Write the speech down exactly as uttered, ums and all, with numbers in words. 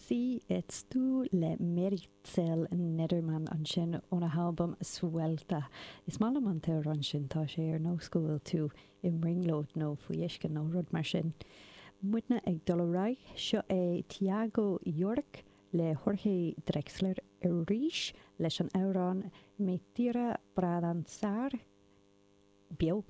Sí it's tú le Meritxell Neddermann ansin óna halbam Suelta. Is maith liom an t-amhrán sin tá sé ar nós go bhfuil tú i mbrionglóid nó faoi uisce nó rud mar sin. Muidne ag dul ar aghaidh seo é Tiago Iorek le Jorge Drexler arís leis an amhrán Me Tira pra Dançar beo.